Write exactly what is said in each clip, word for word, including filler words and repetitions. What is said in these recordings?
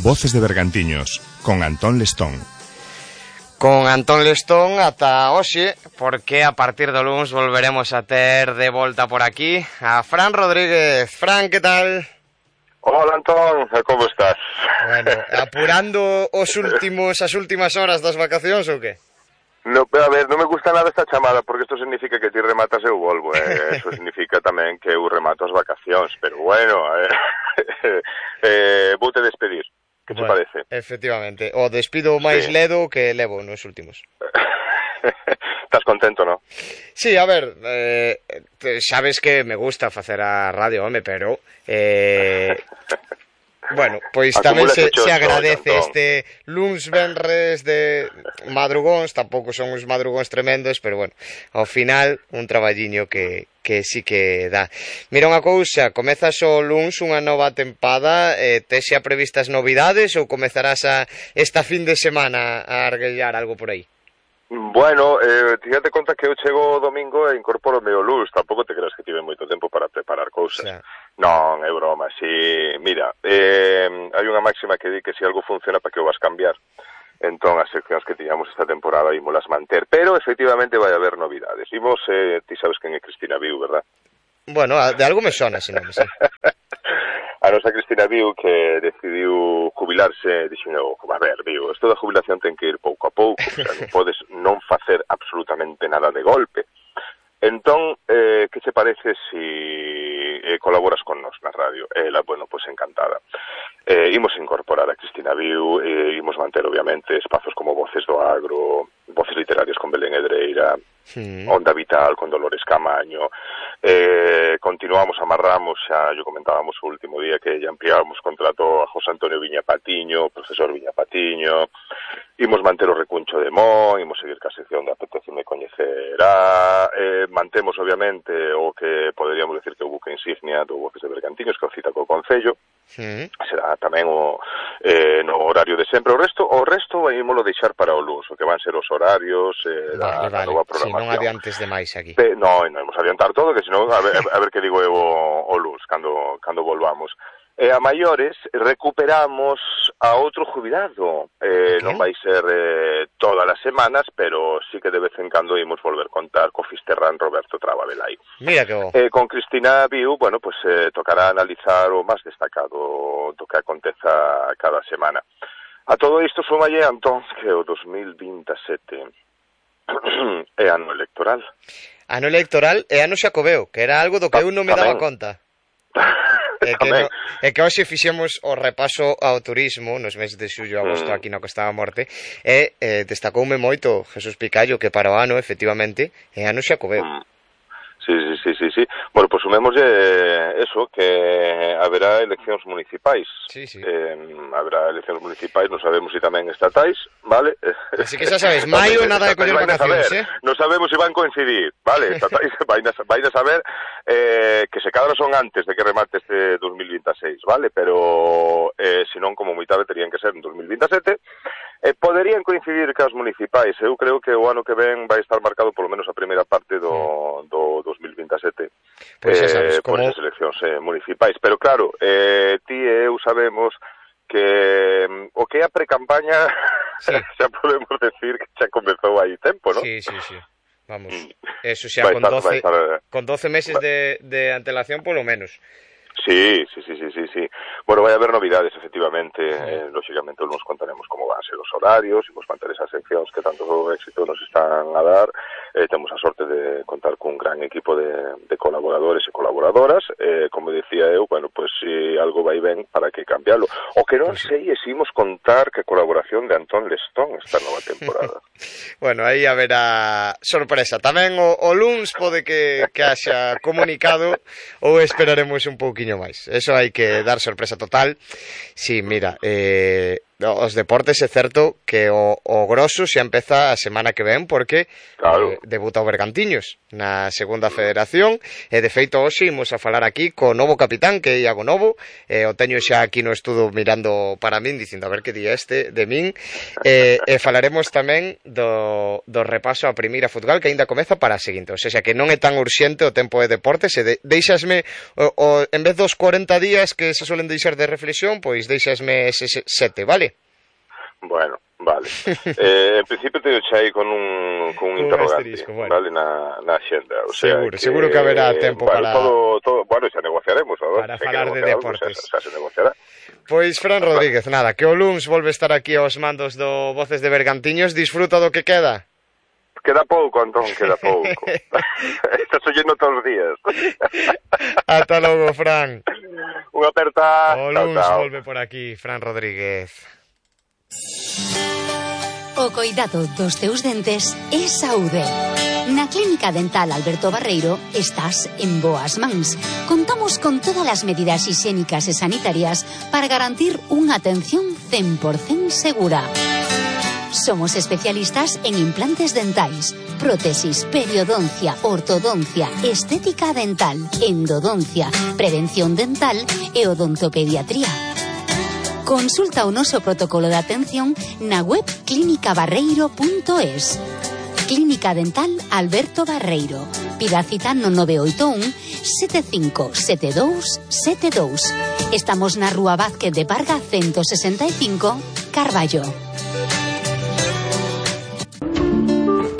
Voces de Bergantiños, con Antón Lestón. Con Antón Lestón ata hoxe, porque a partir do luns volveremos a ter de volta por aquí a Fran Rodríguez. Fran, que tal? Hola, Antón, como estás? Bueno, apurando os últimos as últimas horas das vacacións ou que? No, a ver, non me gusta nada esta chamada porque isto significa que ti rematas e eu volvo, eh? Eso significa tamén que eu remato as vacacións, pero bueno, eh, eh, vou te despedir. Que te bueno, parece? Efectivamente, o despido máis sí. ledo que levo nos últimos. Estás contento, non? Sí, a ver, eh, sabes que me gusta facer a radio, home, pero eh, bueno, pois tamén se, se agradece todo, este luns venres de madrugóns, tampouco son uns madrugóns tremendos, pero bueno, ao final un traballiño que, que sí que dá. Mira unha cousa, comezas o luns unha nova tempada, eh, tes xa previstas novidades ou comezarás a, esta fin de semana a arguellar algo por aí? Bueno, eh, fíjate conta que eu chego o domingo e incorporo o meu luz, tampouco te creas que tive moito tempo para preparar cousas. O sea. Non, é broma, si, mira, eh, hai unha máxima que di que se algo funciona para que o vas cambiar. Entón, as seccións que tiñamos esta temporada ímolas manter, pero efectivamente vai haber novidades. Imos, eh, ti sabes quen é Cristina Viu, verdad? Bueno, de algo me sona, se non me sei. A nosa Cristina Viu, que decidiu jubilarse, dixendo, a ver, Viu, isto da jubilación ten que ir pouco a pouco, o sea, non podes non facer absolutamente nada de golpe. Entón, eh, que che parece si eh, colaboras con nos na radio? Ela, bueno, pois pues, encantada. Eh, imos incorporar a Cristina Viu, eh, imos manter, obviamente, espazos como Voces do Agro, Voces Literarias con Belén Edreira, sí. Onda Vital con Dolores Camaño, eh, continuamos, amarramos, xa yo comentábamos o último día que ya ampliábamos contrato a José Antonio Viña Patiño, profesor Viña Patiño, imos manter o recuncho de Mo, imos seguir ca sección de Apeteceme Coñecerá, eh, mantemos, obviamente, o que poderíamos decir que o buque insignia do Voces de Bergantiños, que o cita co Concello, sí. Será tamén o eh, no horario de sempre. O resto, o resto ímolo deixar para o luns, o que van ser os horarios eh, vale, da, vale. da nova programación. Si, non adiantes demais aquí. Pe, no, non imos adiantar todo, que senón, a ver, a ver que digo eu o, o luns, cando, cando volvamos. E a maiores recuperamos a outro jubilado. Eh, okay. Non vai ser eh, todas as semanas, pero sí que de vez en cando imos volver contar co Fisterrán Roberto Traba Velai. Mira que bo. Eh, con Cristina Viu, bueno, pues eh, tocará analizar o máis destacado do que aconteza cada semana. A todo isto sumalle, Antón, que o dos mil veintesete é ano electoral. Ano electoral e ano xacobeo, que era algo do que eu non me daba conta. É que, no, é que hoxe fixemos o repaso ao turismo nos meses de xullo e agosto mm. aquí na Costa da Morte e eh, destacoume moito Jesús Picallo que para o ano, efectivamente, é ano xacobeo. Mm. Sí, sí, sí, sí, sí. Bueno, pues sumemos eh, eso, que haberá eleccións municipais. Sí, sí. Eh, haberá eleccións municipais, non sabemos se si tamén estatais, vale? Así que xa sabes, maio nada de coller vacacións, eh? Non sabemos se si van coincidir, vale? Estatais vai a saber eh, que se cadra son antes de que remate este dos mil veintiséis, vale? Pero eh, se non, como moi tarde, terían que ser en dos mil veintesete. Eh, poderían coincidir cas municipais. Eu creo que o ano que ven vai estar marcado polo menos a primeira parte do, do dos mil veintesete pues eh, sabes, por como... esas eleccións eh, municipais. Pero claro, eh, ti e eu sabemos que um, o que é a pre-campaña sí. xa podemos decir que xa comezou aí tempo, non? Sí, sí, sí. Vamos, eso xa con, estar, doce, estar... con doce meses de, de antelación polo menos. Sí, sí, sí, sí, sí, sí. Bueno, vai haber novidades, efectivamente. Eh, lógicamente, nos contaremos como van a ser os horarios, imos manter esas seccións que tanto éxito nos están a dar. Eh, temos a sorte de contar cun gran equipo de, de colaboradores e colaboradoras. Eh, como decía eu, bueno, pues si algo vai ben, para que cambiarlo. O que non sei é se imos contar que colaboración de Antón Lestón esta nova temporada. Bueno, aí haberá sorpresa. Tamén o, o luns pode que, que haxa comunicado ou esperaremos un pouquiño máis. Eso hai que dar sorpresa total. Sí, mira, eh, os deportes é certo que o, o grosso xa empeza a semana que ven porque claro. eh, debuta o Bergantiños na segunda federación e de feito hoxe imos a falar aquí co novo capitán que é Iago Novo, eh, o teño xa aquí no estudo mirando para min dicindo a ver que día este de min eh, e falaremos tamén do, do repaso a primeira futbol que aínda comeza para a seguinte, ou seja que non é tan urxente o tempo de deportes e de, deixasme o, o, en vez dos corenta días que se suelen deixar de reflexión, pois deixasme ese sete, vale? Bueno, vale. eh, en principio te xa aí con un, con un, un interrogante, bueno. Vale, na, na xenda. O sea, seguro, que, seguro que haberá tempo bueno, para... Todo, todo, bueno, xa negociaremos, ¿no? Para falar de deportes. Algo, xa, xa se negociará. Pois, Fran Rodríguez, nada, que o luns volve a estar aquí aos mandos do Voces de Bergantiños. Disfruta do que queda. Queda pouco, Antón, queda pouco. Estás oyendo todos os días. Ata logo, Fran. Unha aperta. O luns volve por aquí, Fran Rodríguez. O coidado dos teus dentes é saúde. Na Clínica Dental Alberto Barreiro estás en boas mans. Contamos con todas as medidas higiénicas e sanitarias para garantir unha atención cen por cento segura. Somos especialistas en implantes dentais, prótesis, periodoncia, ortodoncia, estética dental, endodoncia, prevención dental e odontopediatría. Consulta o noso protocolo de atención na web clínica barreiro punto es. Clínica Dental Alberto Barreiro. Pida cita no nove oito un, sete cinco sete dous sete dous. Estamos na Rúa Vázquez de Parga ciento sesenta e cinco, Carballo.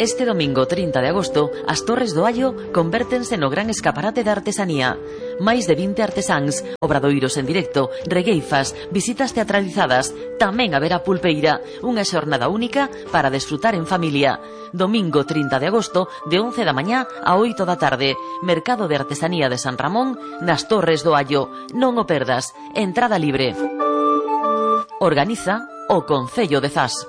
Este domingo trinta de agosto, as Torres do Allo convértense no gran escaparate de artesanía. Máis de vinte artesáns, obradoiros en directo, regueifas, visitas teatralizadas, tamén haberá pulpeira, unha xornada única para desfrutar en familia. Domingo trinta de agosto, de once da mañá a oito da tarde, Mercado de Artesanía de San Ramón, nas Torres do Allo. Non o perdas, entrada libre. Organiza o Concello de Zas.